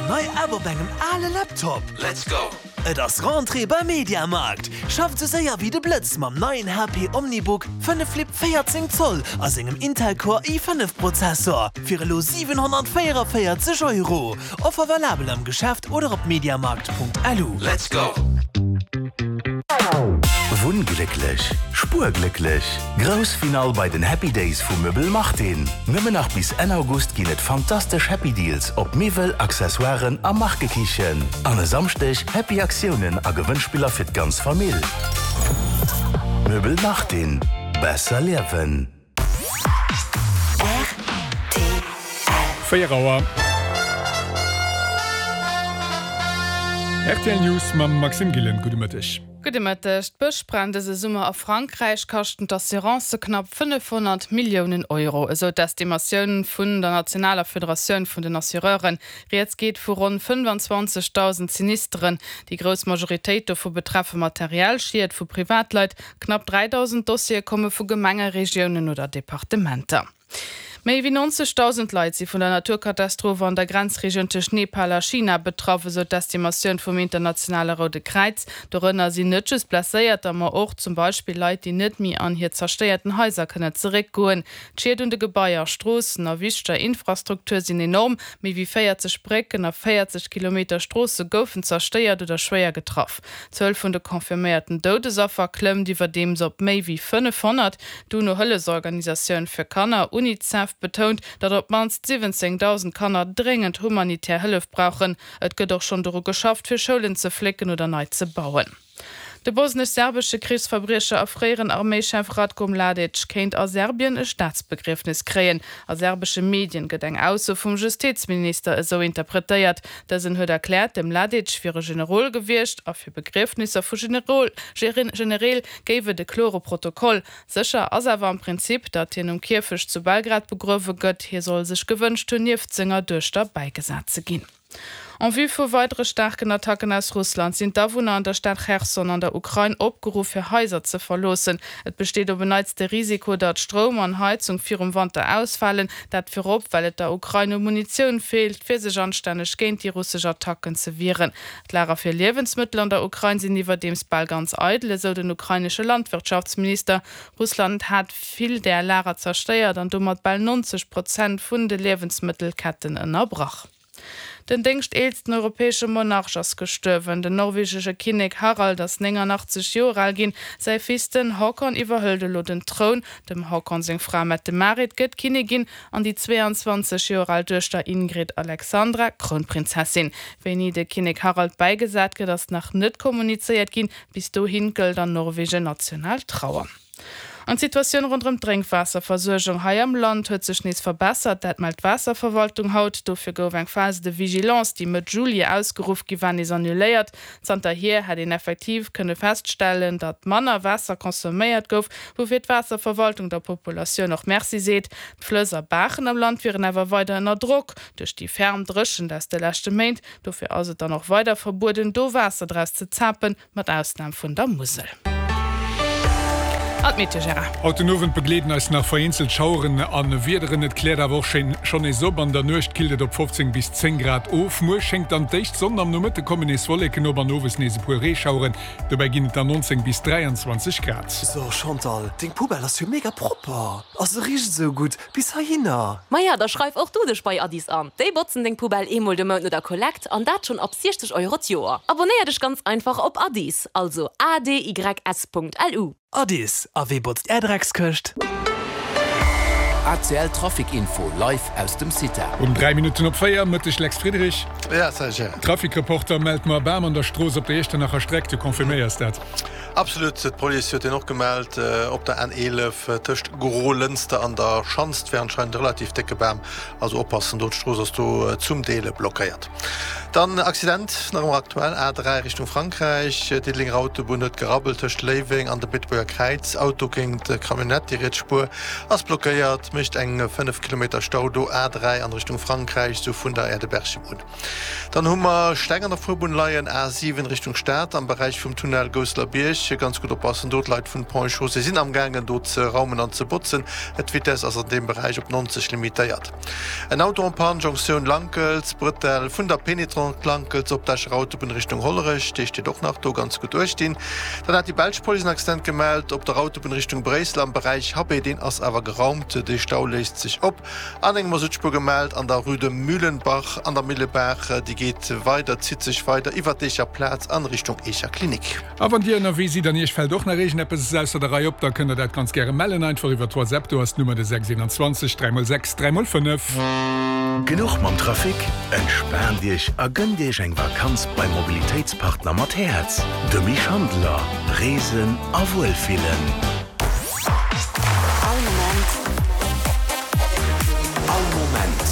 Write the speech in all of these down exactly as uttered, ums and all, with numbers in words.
nei App op engem ale Laptop? Let's go! Et ass Rentrée beim Mediamarkt! Schafft sou séier wéi de Blëtz mam neien H P OmniBook fënnef Flip véierzéng Zoll a sengem Intel Core i fënnef Prozessor fir elo siwenhonnertvéierenvéierzeg Euro. Offer valabel am Geschäft oder op mediamarkt Punkt L U. Let's go! Wunnglécklech, spuerglécklech. Grouss Finall bei den Happy Days vu Möbel Martin. Nëmmen nach bis Enn August ginn et fantastesch Happy Deals op Miwwel, Accessoiren a Markekichen. An e Samschdeg Happy Aktiounen a Gewënnspiller fir d'ganz Famill. Möbel Martin. Besser liewen. Véier Auer. R T L News mam Maxime Gillen. Gudde Mëtteg. Gudde Mëtteg. D'Bëschbränn dëse Summer a Frankräich kaschten d'Assurancë knapp fënnefhonnert Milliounen Euro, esou d'Estimatioun vun der nationaler Federatioun vun den Assureuren. Rieds geet vu ronn fënnefanzwanzegdausend Sinisteren. Déi grouss Majoritéit dovu betreffe materiell Schied vu Privatleit. Knapp dräidausend Dossiere komme vu Gemenge, Regiounen oder Departementer. Méi wéi nonzegdausend Leit si vun der Naturkatastroph an der Grenzregioun tëscht Nepal a China betraff, esou d'Estimatioun vum internationale Roude Kräiz. Dorënner sinn net just Blesséierter, ma och zum Beispill Leit, déi net méi an hir zerstéierten Haiser kënnen zeréckgoen. D'Schied un de Gebaier, Stroossen a wichteger Infrastruktur sinn enorm. Méi wéi véierzeg Brécken a véierzeg Kilometer Stroosse goufen zerstéiert oder schwéier getraff. D'Zuel vun de confirméierten Doudesaffer klëmmt iwwerdeems op méi wéi fënnefhonnert. D'UNO-Hëllefsorganisatioun fir Kanner UNICEF betount, datt op d'mannst siwwenzéngdausend Kanner dréngend humanitär Hëllef brauchen. Et gëtt och schonn doru geschafft, fir Schoulen ze flécken oder nei ze bauen. De bosnesch-serbesche Krichsverbriecher a fréieren Arméischef Ratko Mladic kéint a Serbien e Staatsbegriefnes kréien. A serbesche Medien gëtt eng Ausso vum Justizminister esou interpretéiert. Dësen huet erkläert, de Mladic wier e Generol gewiescht a fir Begriefnisser vu Generol Genereel géif et e klore Protokoll. Sécher ass awer am Prinzip, datt hien um Kierfecht zu Belgrad begruewe gëtt. Hie soll sech gewënscht hunn, nieft senger Duechter bäigesat ze ginn. En vue vu weidere staarken Attacken aus Russland sinn d'Awunner an der Stad Cherson an der Ukrain opgeruff fir Haiser ze verloossen. Et besteet op en Neits de Risiko, datt Stroum an Heizung virum Wanter ausfalen, dat virop well et der Ukrain u Munitioun feelt, fir sech anstänneg géint déi russesch Attacken ze wieren. D'Lager fir Liewensmëttel an der Ukrain sinn iwwerdeems bal ganz eidel, esou den ukrainesche Landwirtschaftsminister. Russland hat vill där Lager zerstéiert an domat bal neunzeg Prozent vun de Liewensmëttelketten ënnerbrach. Den déngschteelsten europäesche Monarch ass gestuerwen. Den norwegesche Kinnek Harald ass nénganachtzeg Joer al ginn. Säi Fils den Haakon iwwerhëlt elo den Troun. Dem Haakon seng Fra Mette-Marit gëtt Kinnigin an déi zweeanzwanzeg Joer al Duechter Ingrid Alexandra Krounprinzessin. Wéini de Kinnek Harald bäigesat gëtt, ass nach net kommunizéiert ginn. Bis dohi gëllt an Norwegen national Trauer. An d'Situatioun ronderëm d'Drénkwaasserversuergung hei am Land huet sech nees verbessert, dat mellt d'Waasserverwaltung haut. Dofir gouf eng Phase de vigilance, déi Mëtt Juli ausgeruff gi war, nees annuléiert. Zanterhier hätt een effektiv kënne feststellen, datt manner Waasser consomméiert gouf, woufir d'Waasserverwaltung der Populatioun och Merci seet. D'Flëss a Baachen am Land wieren awer weider ënner Drock duerch déi ferm Dréchent aus de leschte Méint. Dofir ass et dann och weider verbueden, do Waasser draus ze zapen, mat Ausnam vun der Musel. An d'Meteo, Gérard. Haut den Owend begleeden eis nach vereenzelt Schaueren a Wiederen. Et kläert awer och schonn nees op. An der Nuecht killt et op fofzéng bis zéng Grad of. Muer schéngt dann d'éischt d'Sonn, am Nomëtte kommen nees Wolleken op an owes nees e puer Reeschaueren. Dobäi ginn et dann nonzéng bis dräianzwanzeg Grad. So Chantal, deng Poubelle ass jo mega propper. A se richt esou gutt bis heihinner. Maja, da schreif och du dech bei Addis an. Déi botzen deng Poubelle eemol de Mount no der Kollekt an dat schonn ab siechzeg Euro d'Joer. Abonéier dech ganz einfach op Addis, also A D Y S Punkt L U. Addis, a wee botzt är Dreckskëscht? A C L Trafic Info live aus dem Cita. Um dräi Minutten op véier, Mëtteg Lex Friedrich. Ja, salut Gérard. Trafic-Reporter mellt mer Bam an der Strooss op der Iechternacher Streck, du confirméiers dat? Absolut, d'Police huet deen och gemellt. Op der N eelef tëscht Grolënster an der Schanz wär anscheinend e relativ décke Bam, also oppassen do, d'Strooss ass do zum Deel blockéiert. Dann Accident nach ëmmer aktuell, A dräi Richtung Frankräich, Diddelenger Autobunn huet gerabbelt tëscht Léiweng an dem Beetebuerger Kräiz, Auto géint Camionnette, déi riets Spuer ass blockéiert, mécht eng fënnef Kilometer Stau do, A dräi an Richtung Frankräich, sou vun der Aire de Berchem un. Dann hu mer Steng an der Fuerbunn leien, A siwen Richtung Stad am Beräich vum Tunnel Gousselerbierg, ganz gutt oppassen do, d'Leit vun Ponts et Chaussées sinn amgaangen do ze raumen an ze botzen, d'Vitess ass an deem Beräich op neunzeg limitéiert. En Auto en panne, Jonktioun Lankels, Brëttel vun der Pénitence. Restaurant Klankels op der Escher Autobunn Richtung Hollerech, dee steet och nach do, ganz gutt uechtinn. Dann hat déi belsch Police en Accident gemellt op der Autobunn Richtung Bréissel am Beräich Habay, deen ass awer geraumt, de Stau léist sech op. An eng Masuttspuer gemellt an der Rue de Mühlenbach an der Millebaach, déi geet weider, zitt sech weider iwwer d'Eecher Plaz an Richtung Eecher Klinik. A wann Dir ënnerwee sidd an Iech fält och nach iergendeppes ausser der Rei op, da kënnt Der dat ganz gäre mellen, einfach iwwer WhatsApp, do ass d'Nummer de sechs einundzwanzeg dräi mol sechs dräi mol fënnef. Genuch mam Trafic? Entspaant Iech a gënnt Iech eng Vakanz beim Mobilitéitspartner mat Häerz, de Mich Handler. Reesen a Wuelfillen. All Moment. All Moment.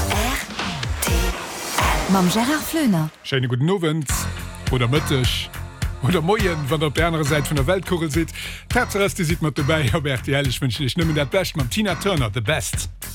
Rtl. Mam Gérard Floener. Schéine gudden Owend oder Mëtteg oder Moien, wann der op der anerer Säit vun der Weltkugel sidd. D'Haaptsaach ass, dir sidd mat dobäi op rtl. Ech wënschen iech nëmmen dat Bescht mam Tina Turner, The Best.